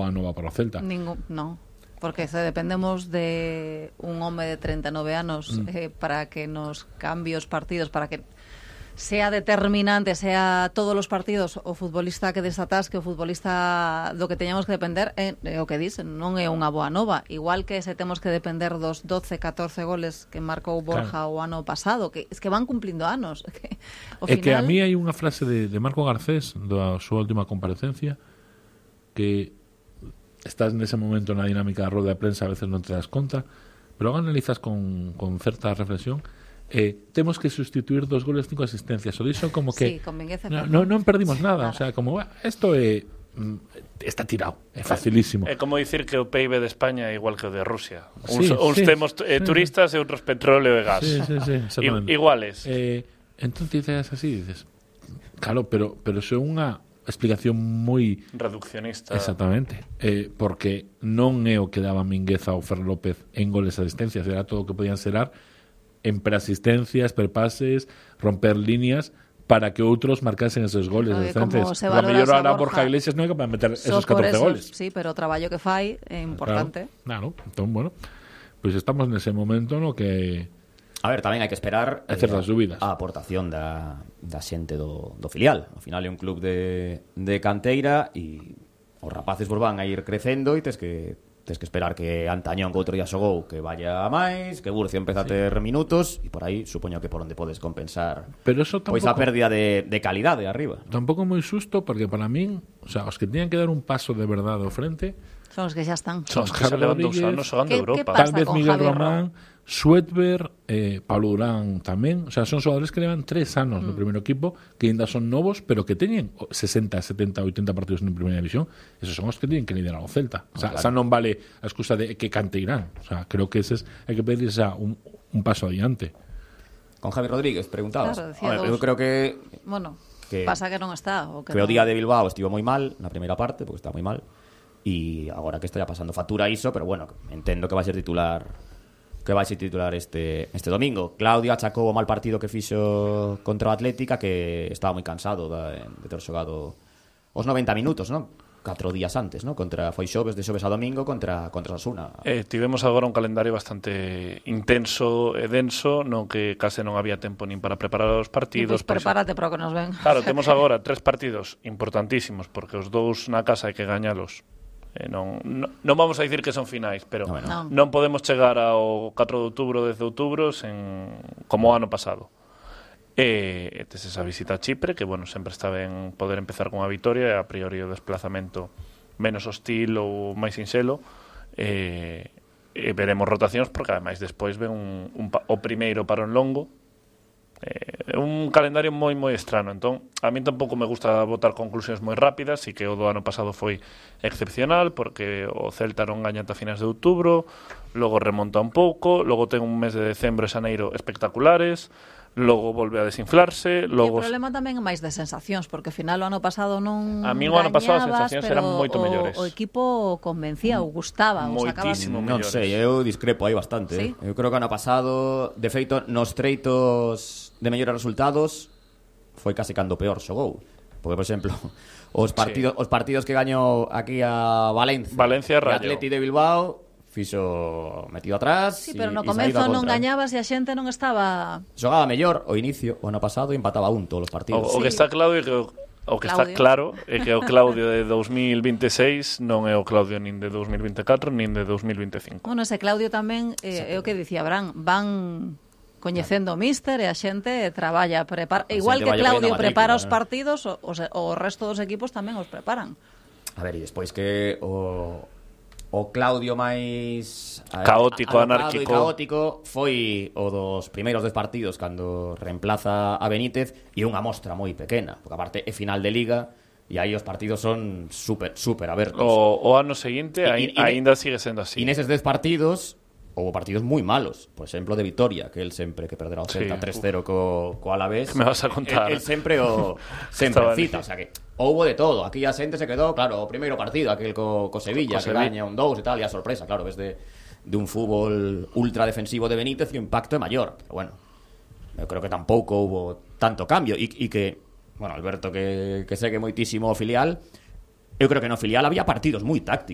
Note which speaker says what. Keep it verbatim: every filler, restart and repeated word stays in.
Speaker 1: boa nova para o Celta.
Speaker 2: Ningún, non. Porque se dependemos de un home de treinta e nove anos mm. eh, para que nos cambie os partidos, para que sea determinante, sea todos os partidos o futbolista que desatasque, o futbolista do que teñamos que depender, é, é o que dicen, non é unha boa nova. Igual que se temos que depender dos doce, catorce goles que marcou Borja claro. o ano pasado, que es que van cumplindo anos. Que,
Speaker 1: o é final... que a mí hai unha frase de, de Marco Garcés da súa última comparecencia que estás nese momento na dinámica da roda de prensa, a veces non te das conta, pero analizas con, con certa reflexión. Eh, temos que sustituir dos goles, cinco asistencias. O dixo como que
Speaker 2: sí, con
Speaker 1: no, no, non perdimos nada, nada. O sea, como isto é está tirado, é facilísimo.
Speaker 3: É como dicir que o P I B de España é igual que o de Rusia.
Speaker 1: Sí,
Speaker 3: uns uns
Speaker 1: sí,
Speaker 3: temos eh,
Speaker 1: sí.
Speaker 3: turistas e outros petróleo e gas.
Speaker 1: Sí, sí, sí,
Speaker 3: I, iguales.
Speaker 1: Eh, entón dices así, dices, claro, pero pero é unha explicación moi
Speaker 3: reduccionista.
Speaker 1: Exactamente, eh, porque non é o que daba Mingueza ou Fer López en goles e asistencias, era todo o que podían serar en preasistencias, perpases, romper líneas para que outros marcasen esos goles.
Speaker 2: No,
Speaker 1: entonces, a mellor ahora Borja Iglesias non é capaz de meter esos catorce esos, goles.
Speaker 2: Sí, pero o traballo que fai é importante.
Speaker 1: Claro, claro. Entón, bueno, pois pues estamos nese momento no que
Speaker 4: a ver, tamén hai que esperar
Speaker 1: eh, a
Speaker 4: aportación da, da xente do, do filial. Ao final é un club de, de canteira e os rapaces vos van a ir crecendo e tes que tes que esperar que Antañón, que outro día xogou, que vaya a máis, que Burcio empeza sí. a ter minutos e por aí supoño que por onde podes compensar
Speaker 1: pero eso tampouco,
Speaker 4: pois a pérdida de, de calidade arriba.
Speaker 1: Tampouco moi susto porque para min, o sea, os que teñan que dar un paso de verdade ao frente
Speaker 2: son os que xa están.
Speaker 3: Son os que xa levan dous anos xogando Europa.
Speaker 1: Tal vez Miguel Román, Suetber, eh, Pablo Durán tamén, o sea, son xogadores que levan tres anos mm. no primeiro equipo, que ainda son novos, pero que teñen sesenta, setenta, oitenta partidos en primeira división. Esos son os que teñen que liderar o Celta. O sea, oh, claro. Esa non vale a excusa de que canteirán. O sea, creo que ese es, hai que pedir xa un, un paso adiante.
Speaker 4: Con Javi Rodríguez, preguntabas.
Speaker 2: Claro, Hombre,
Speaker 4: eu creo que
Speaker 2: bueno,
Speaker 4: que
Speaker 2: pasa que non está o que,
Speaker 4: que
Speaker 2: non...
Speaker 4: o día de Bilbao estivo moi mal na primeira parte, porque está moi mal. E agora que está ya pasando factura iso, pero bueno, entendo que vai ser titular que vai ser titular este este domingo. Claudio achacou o mal partido que fixo contra o Atlética, que estaba moi cansado de, de ter xogado os noventa minutos, non? Catro días antes, non? Contra foi xoves, de xoves a domingo contra contra Osasuna.
Speaker 3: Eh, tivemos agora un calendario bastante intenso e denso, no que case non había tempo nin para preparar os partidos.
Speaker 2: Pois pues prepárate para o que nos ven.
Speaker 3: Claro, temos agora tres partidos importantísimos, porque os dous na casa hai que gañalos. Eh, non, non, non vamos a dicir que son finais, pero
Speaker 2: no, no.
Speaker 3: non podemos chegar ao catro de outubro, dez de outubro sen, como o ano pasado. E tes esa visita a Chipre, que bueno, sempre está ben poder empezar con a vitoria, e a priori o desplazamento menos hostil ou máis sinxelo, e, e veremos rotacións, porque ademais despois ven un, un, o primeiro parón longo. É eh, un calendario moi moi estrano, entón a mí tampouco me gusta botar conclusións moi rápidas, e que o do ano pasado foi excepcional porque o Celta non gaña ata finais de outubro, logo remonta un pouco, logo ten un mes de decembro e xaneiro espectaculares, logo volve a desinflarse, logo...
Speaker 2: E o problema tamén é máis de sensacións, porque ao final o ano pasado non
Speaker 3: a mí o ano pasado as sensacións eran moito
Speaker 2: o,
Speaker 3: mellores.
Speaker 2: O equipo convencía, ou gustaba, ou
Speaker 3: moitísimo
Speaker 4: mellores. Non sei, eu discrepo aí bastante. ¿Sí? Eh? Eu creo que o ano pasado, de feito, nos treitos de mellores resultados foi case cando peor xogou. Porque, por exemplo, os partidos, sí. os partidos que gañou aquí a Valencia,
Speaker 3: Valencia
Speaker 4: e Atleti de Bilbao, fixo metido atrás.
Speaker 2: Sí, pero no comezo non gañabas e a xente non estaba...
Speaker 4: Xogaba mellor o inicio, o ano pasado, e empataba un todos os partidos.
Speaker 3: O, o que está claro é que o, o que Claudio. está claro é que o Claudio de dos mil vinteseis non é o Claudio nin de dos mil vinte e catro nin de dos mil vinte e cinco.
Speaker 2: Bueno, ese Claudio tamén eh, é o que dicía Bran, van coñecendo o míster e a xente traballa, prepara, igual que Claudio prepara os partidos, o, o, o resto dos equipos tamén os preparan.
Speaker 4: A ver, e despois que o o Claudio máis
Speaker 3: caótico, anárquico
Speaker 4: e caótico foi o dos primeiros dez partidos cando reemplaza a Benítez, e unha mostra moi pequena, porque aparte é final de Liga e aí os partidos son super, super abertos.
Speaker 3: O, o ano seguinte e, e, aínda sigue sendo así.
Speaker 4: E neses dez partidos houve partidos moi malos, por exemplo de Vitoria, que el sempre que perderá o Celta sí, tres cero co, co Alavés.
Speaker 3: Me vas a contar.
Speaker 4: El, el sempre o sempre cita, o sea que houbo de todo. Aquí a xente se quedou, claro, o primeiro partido, aquel co, co Sevilla, co que Sevilla. Gaña un dous e tal, e a sorpresa, claro, ves de, de un fútbol ultra defensivo de Benítez e o impacto é maior. Pero bueno, eu creo que tampouco houbo tanto cambio, e, e que, bueno, Alberto que, que segue moitísimo o filial, eu creo que no filial había partidos moi tácticos.